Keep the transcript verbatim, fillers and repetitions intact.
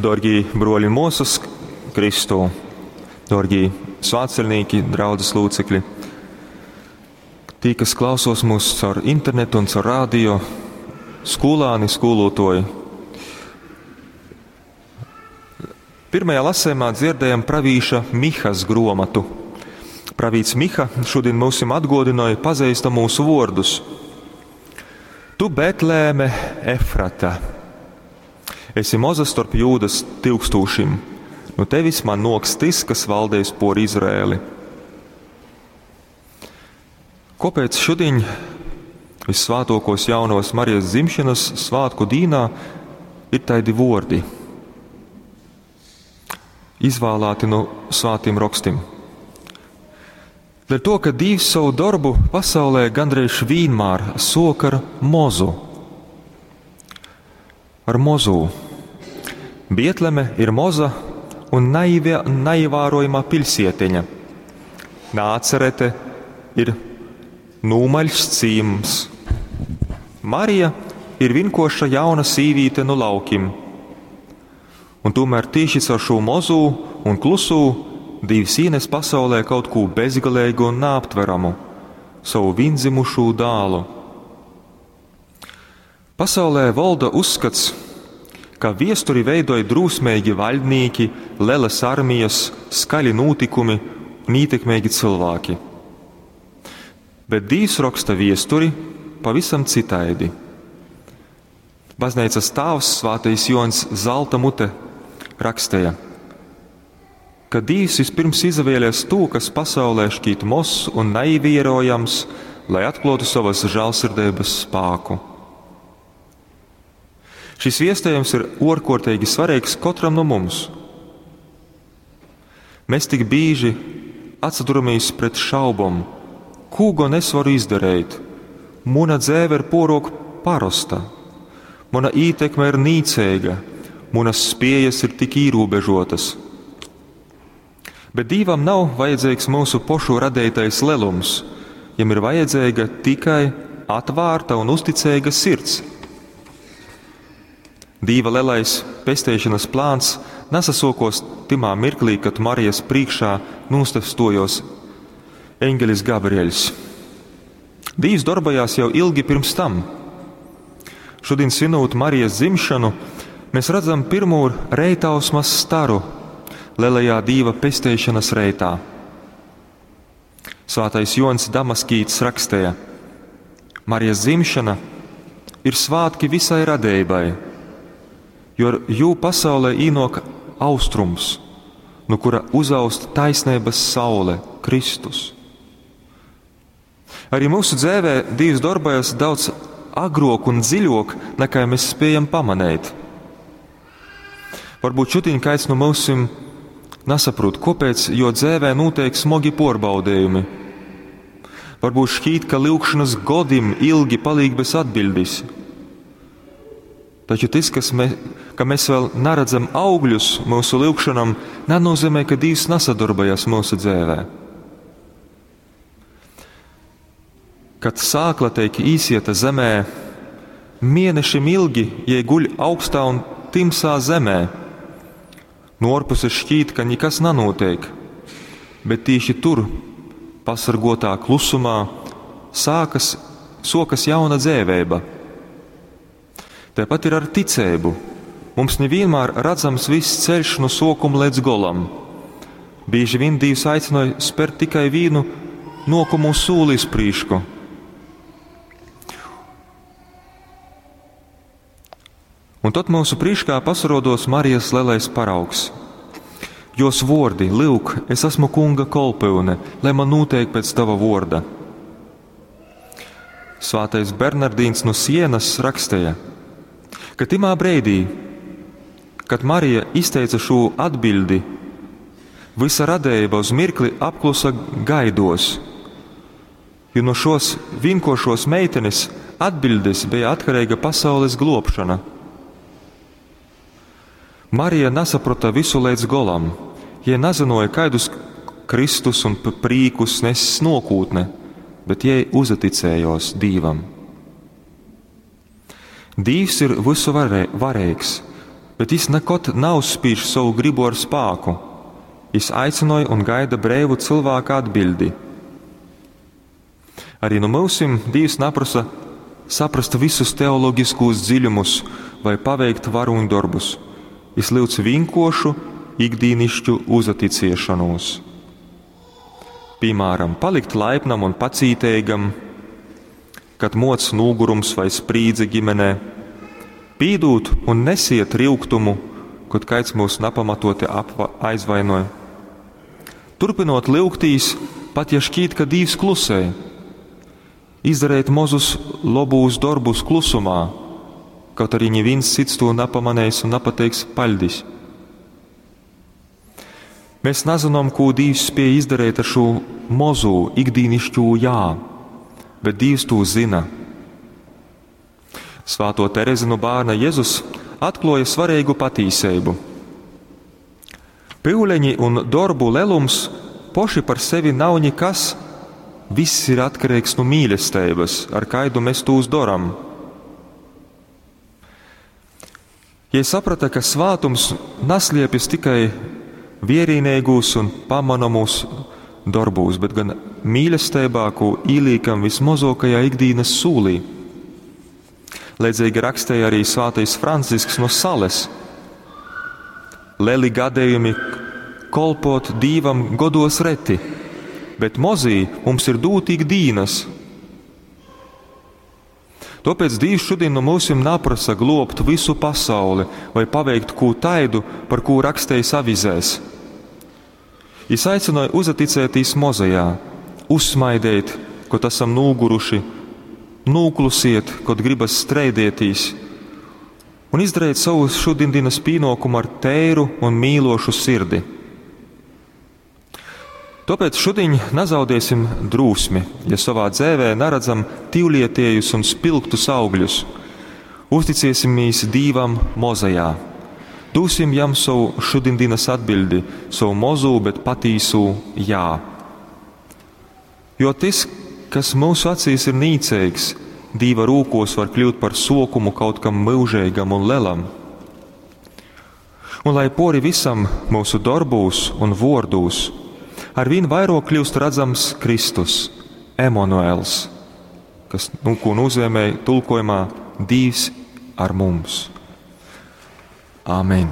Dārgie broļi un māsas Kristū, dārgie svētceļnieki, draudzes locekļi, tī, kas klausos mūs caur internetu un caur radio, skolāni, skolotoji. Pirmajā lasējumā dzirdējam pravīša Mihas gromatu. Pravīts Miha šodien mūsim atgodināja pazīstamos vārdus. Tu, Betlēme Efrata, esi moza starp Jūdas tilkstūšim, no tevis man noks tis, kas valdēs por Izraēli. Kāpēc šodien vissvētākos jaunos Marijas dzimšanas svētku dīnā ir taidi vordi, izvēlēti no svētiem rakstim? Dēļ to, ka Dievs savu darbu pasaulē gandrīz vienmēr sok ar mozu. Ar mozu. Bietleme ir moza un naivia, naievērojama pilsietiņa. Nācerete ir nūmaļs cīms. Marija ir vinkoša jauna sīvīte no laukim. Un tomēr tieši caur šo mozu un klusū Dievs ienes pasaulē kaut ko bezgalīgu un neaptveramu – savu viendzimušo dālu. Pasaulē valda uzskats, ka viesturi veidoja drūsmīgi vaļdnieki, lelas armijas, skaļi notikumi un ietekmīgi cilvēki. Bet Dievs raksta viesturi pavisam citaidi. Baznīcas tēvs Svētais Joans Zelta mute rakstīja, ka Dievs vispirms izvēlēs to, kas pasaulē šķiet mozs un naievērojams, lai atklātu savas žēlsirdības spēku. Šis viestējums ir ārkārtīgi svarīgs katram no mums. Mēs tik bieži atsaduramies pret šaubom, ko gan es varu izdarīt. Mana dzēve ir porok parosta, mana ietekme ir nīcīga, manas spējas ir tik ierobežotas. Bet Dievam nav vajadzīgs mūsu pošu radītais lelums, jam ir vajadzīga tikai atvērta un uzticīga sirds. Dieva lielais pesteišanas plāns nesasokos timā mirklī, kad Marijas priekšā nostastojos eņģelis Gabrieļs. Dievs darbojās jau ilgi pirms tam. Šodien svinot Marijas dzimšanu, mēs redzam pirmo reitausmas staru lielajā Dieva pesteišanas reitā. Svētais Jons Damaskīts rakstīja: Marijas dzimšana ir svētki visai radībai, jo ar jū pasaulē īnok austrums, no kura uzaust taisnības saule, Kristus. Arī mūsu dzīvē Dievs darbojas daudz agrāk un dziļāk, nekā mēs spējam pamanīt. Varbūt šodien kāds no mums nesaprot, kāpēc, jo dzīvē notiek smagi porbaudījumi. Varbūt šķiet, ka lūgšanas godim ilgi paliek bez atbildes. Taču tas, kas me, ka mēs vēl neredzam augļus mūsu lūgšanam, nenozīmē, ka Dievs nesadarbojas mūsu dzīvē. Kad sākla tiek īsieta zemē, mēnešiem ilgi jai guļ augstā un timsā zemē. No ārpuses šķiet, ka nekas nenotiek, bet tieši tur, pasargotā klusumā, sākas, sokas jauna dzēvēba. Tāpat ir ar ticību. Mums nevienmēr redzams viss ceļš no sokuma līdz golam. Bieži vien Dievs aicināja spērt tikai vienu nokumu sūli uz prīšku. Un tad mūsu priekšā pasarodos Marijas lielais paraugs. Jos vordi, lūk, es esmu kunga kolpyune, lai man notiek pēc tava vorda. Svētais Bernardīns no Sienas rakstīja, ka timā breidī, kad Marija izteica šo atbildi, visa radība uz mirkli apklusa gaidos, jo no šos vienkošos meitenes atbildes bija atkarīga pasaules globšana. Marija nesaprata visu līdz golam, ja nezināja, kādus Kristus un prīkus nes nokūtne, bet jai uzaticējos Dievam. Dievs ir visu varē, varīgs, Bet jis nekod nauzspīž sovu gribu ar spāku. Jis aicynoj un gaida breivu cylvāka atbiļdi. Arī nu myusim Dīvs naprosa saprast visus teologiskūs dziļumus vai paveikt varūņdorbus. Jis lyudz vīnkuoršu, ikdīnišķu uzaticiešanos. Piemēram, palikt laipnam un pacīteigam, kad moc nūgurums vai sprīdze ģimenē, pīdūt un nesiet ryugtumu, kod kaids mūs napamatoti apva aizvainoja. Turpinot lyugtīs, pat ja šķīt, ka Dīvs klusē, izdarīt mozus lobūs dorbus klusumā, kaut arī neviens cits to napamanīs un napateiks paļdis. Mēs nezinām, ko Dīvs spēja izdarīt ar šo mozu ikdīnišķo jā, bet Dīvs to zina. Svāto Terezi no bērna Jēzus atkloja svarīgu patīseibu. Pyuleņi un dorbu lelums poši par sevi nav nekas, viss ir atkarīgs no mīlestības, ar kaidu mēs tūs doram. Ja saprata, ka svātums nasliepjas tikai vierīnīgūs un pamanamūs darbūs, bet gan mīlestībā, ko īlīkam vismazākajā ikdienas sūlī. Līdzīgi rakstīja arī svētais Francisks no Sales. Lieli gadījumi kolpot Dīvam godos reti, bet mozī mums ir dūti ikdienas. Tāpēc Dīvs šodien no mūsim naprasa globt visu pasauli vai paveikt kū taidu, par kū rakstējis avizēs. Jis aicināja uzaticētīs mozajā, uzsmaidēt, kod esam nūguruši, nūklusiet, kod gribas streidētīs, un izdarīt savu šodienas pienākumu ar tēru un mīlošu sirdi. Tāpēc šodien nezaudēsim drūsmi, ja savā dzēvē neredzam tīvlietiejus un spilgtus augļus. Uzticēsimies Dīvam mozajā. Dūsim jam savu šodienas atbildi, savu mozu, bet patīsu jā. Jo tas, kas mūsu acīs ir nīcīgs, Dīva rūkos var kļūt par sokumu kaut kam mūžīgam un lelam. Un lai pori visam mūsu darbūs un vordūs, arvien vairāk kļūst redzams Kristus, Emanuels, kas, nu, ko nozīmē tulkojumā Dīvs ar mums. Āmen.